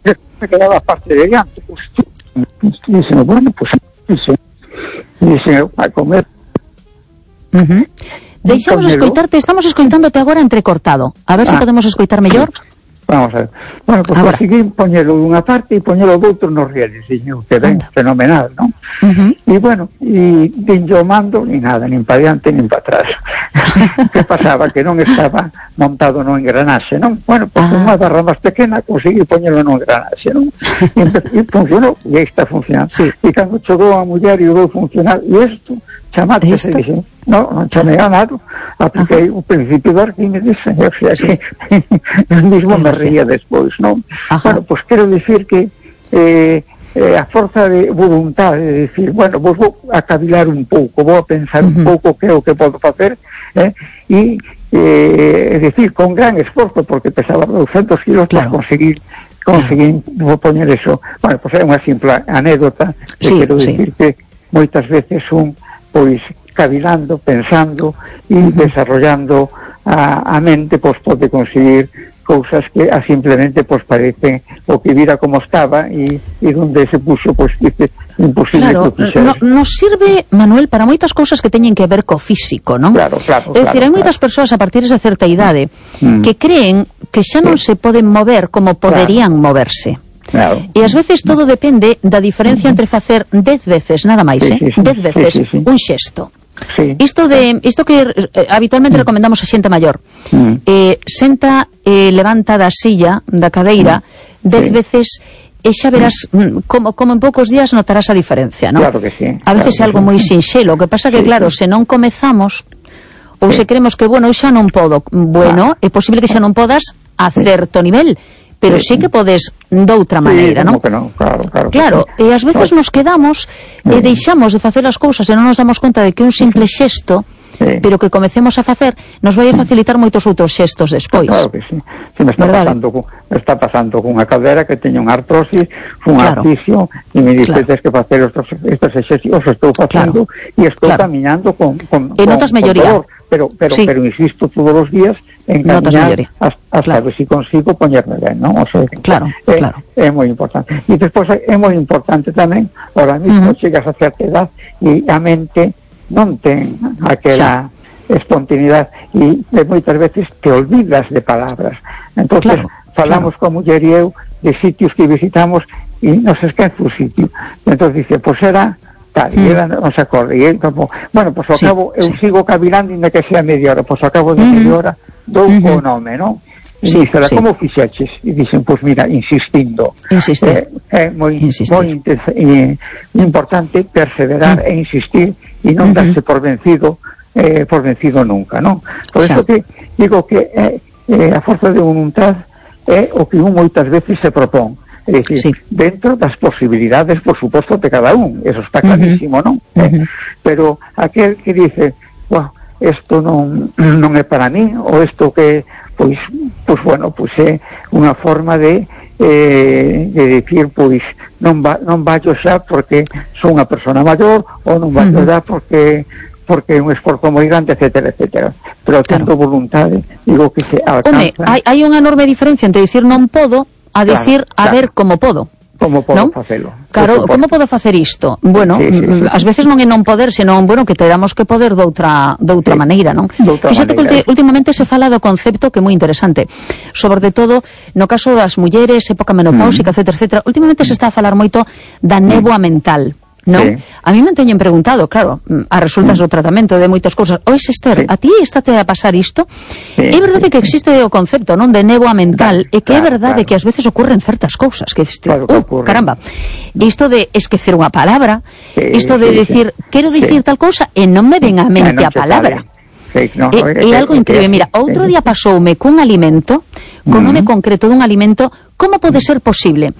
me quedaba parte de diante, pues, dicen, bueno, pues, dicen, a comer. Deixamos escoitarte, estamos escoitándote agora entrecortado. A ver se podemos escoitar mellor. Vamos a ver. Bueno, pues conseguí poñelo dunha parte e poñelo doutro nos rieles, dixen, que ben, fenomenal, non? E bueno, e din yo mando, ni nada, nin para diante, nin para atrás. Que pasaba? Que non estaba montado no engranaxe, non? Bueno, pues unha barra máis pequena conseguí poñelo no engranaxe, non? E funcionou, e aí está funcionando. E cando chegou a muller e vou funcionar, e isto, chamate, se dixen, non chamei a nada, apliquei o principio de Arquímedes, o sea que eu mismo me ría despois, non? Bueno, pois quero dicir que a forza de voluntade de dicir, bueno, vos vou a cavilar un pouco, vou a pensar un pouco que é o que podo facer, e dicir, con gran esforzo, porque pesaba 200 kilos para conseguir poñer eso. Bueno, pois é unha simple anécdota, que quero dicir que moitas veces pois cavilando, pensando e desarrollando a mente, pois pode conseguir cousas que simplemente pois parece o que vira como estaba e donde se puxo pois imposible. Claro, nos sirve, Manuel, para moitas cousas que teñen que ver co físico, non? Claro. É dicir, hai moitas persoas a partir de certa idade que creen que xa non se poden mover como poderían moverse. E ás veces todo depende da diferencia entre facer 10 veces, nada máis, 10 veces un xesto. Isto que habitualmente recomendamos a xente maior, senta, levanta da silla, da cadeira 10 veces, e xa verás como en poucos días notarás a diferencia, non? Claro que sí. A veces é algo moi sinxelo, o que pasa que claro, se non comezamos ou se creemos que, bueno, xa non podo, bueno, é posible que xa non podas a certo nivel, pero sí que podes doutra maneira, non? Claro, e ás veces nos quedamos e deixamos de facer as cousas e non nos damos conta de que un simple xesto, pero que comecemos a facer, nos vai a facilitar moitos outros xestos despois. Claro que sí. Se me está pasando cunha cadera que teño unha artrosis, un articio, e me dices que facer estos exercicios, estou facendo e estou caminando con notas melloría. Pero insisto todos os días en camiñar hasta ver si consigo poñerme ben, non? O sea, é moi importante. E despois é moi importante tamén, ahora mismo chegas a certa edad e a mente non ten aquela espontaneidade e moitas veces te olvidas de palabras. Entonces falamos con muller e eu de sitios que visitamos e nos esquece o sitio. Entonces dice, pois era tal, e ela non se acorda, e como, bueno, pois ao cabo eu sigo cavilando inda que sea media hora, pois ao cabo de media hora dou o nome, non? E dixera, como fixeches? E dixen, pois mira, insistindo. É moi importante perseverar e insistir e non darse por vencido nunca, non? Por iso que digo que a forza de voluntad é o que un moitas veces se propón. É dicir, dentro das posibilidades, por suposto, de cada un, eso está clarísimo, non? Pero aquel que dice, isto non é para mí, ou isto que, pois bueno, pois é unha forma de dicir, pois non vallo xa porque son unha persona maior, ou non vallo xa porque é un esforzo moi grande, etcétera, etcétera. Pero tendo voluntade, digo que se alcanza. Hai unha enorme diferencia entre dicir non podo a decir, a ver como podo. Como podo facelo. Claro, como podo facer isto? Bueno, ás veces non é non poder, senón, bueno, que teramos que poder doutra maneira, non? Fíxate que últimamente se fala do concepto que é moi interesante, sobre todo no caso das mulleres, época menopáusica, etcétera, etcétera. Últimamente se está a falar moito da néboa mental, non? A mí me teñen preguntado, claro, a resultas do tratamento de moitas cousas, ois Esther, a ti estate a pasar isto? É verdade que existe o concepto, non, de néboa mental, e que é verdade que ás veces ocurren certas cousas, que caramba, isto de esquecer unha palabra, isto de decir, quero dicir tal cousa e non me ven á mente a palabra. É algo increíble. Mira, outro día pasoume cun alimento, con nome concreto dun alimento, como pode ser posible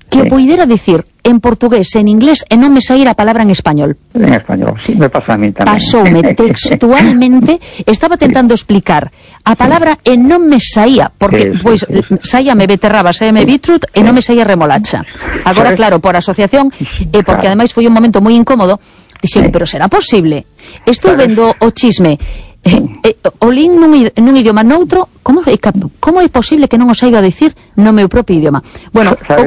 que poidera dicir en portugués, en inglés, e non me saíra a palabra en español. En español, sí, me pasa a mí tamén. Pasoume textualmente, estaba tentando explicar a palabra e non me saía, porque, pois, saíame beterraba, saíame beetroot e non me saía remolacha. Agora, claro, por asociación, e porque ademais foi un momento moi incómodo, dixen, pero será posible? Estou vendo o chisme, o lin nun idioma noutro, como é posible que non o saiba dicir no meu propio idioma? Bueno,